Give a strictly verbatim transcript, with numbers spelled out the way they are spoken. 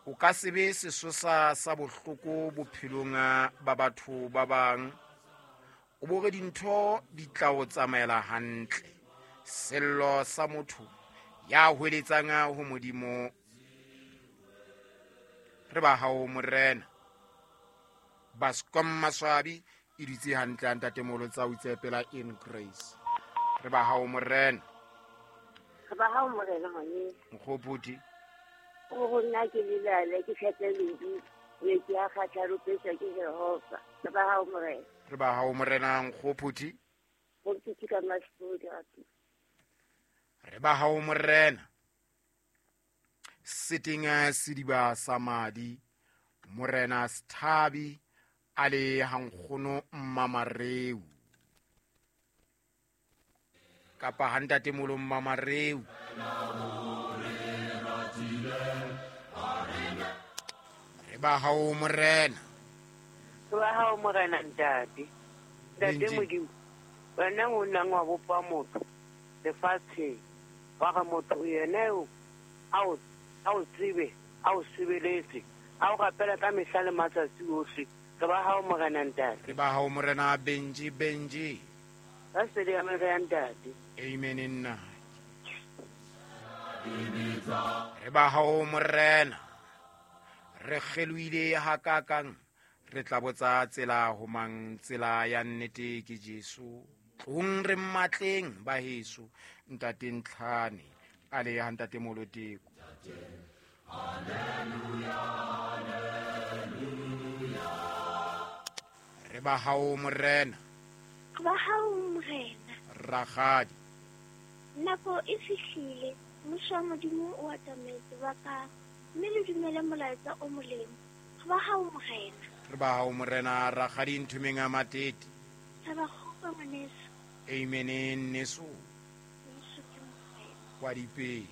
O ka se be sesosa sa bohloko bophelong ba batho ba bang. O bo re dintho di tla o tsamaela hantle. Sello sa motho ya hweletsang ho Modimo. Re ba hao Morena. Bascom Maswabi e dutse hantle ntate Molo tsa o itsepela in grace. Re ba hao Morena. Re ba hao Morena ngwaneso. Nkgopoti. O go nna ke lelale ke tlhatle ledi metsi a kgatlha ke Jehova. Re ba hao Morena. Re ba hao Morena Nkgopoti. Go ntse ka masipodi gape. Re ba hao Morena. Seteng sediba sa madi Morena Sthabi a le hankgono Mmamareu. Kapa ha ntate Molo Mmamareu. Re ba hao Morena. Re ba hao Morena ntate. Ntate Modimo, wena o nang wa bopa motho lefatsheng. Wa re motho yena eo a o a o tsebe, a o sebeletse, a o rapela ka mehla le matsatsi ohle. Re ba hao Morena ntate. Re ba hao Morena Benji Benji. Ka sedi ya Morena ntate. Amen nna. Re ba hao Morena. Re kgelohile hakakang, re tla botsa tsela ho mang, tsela ya nnete ke Jesu. Tlong re mmatleng ba heso, ntate Ntlhane a le ha ntate Moloteko. Re ba hao Morena. Re ba hao Morena. Rakgadi. Nako e fihlile, mmuso wa Modimo o atametse ba ka mme le dumele molaetsa o molemo. Re ba hao Morena. Re ba hao Morena Rakgadi Nthumeng a Matete. Re ba kgopa ngwaneso. Amen nneso. Jesu ke Morena. Kwa dipele.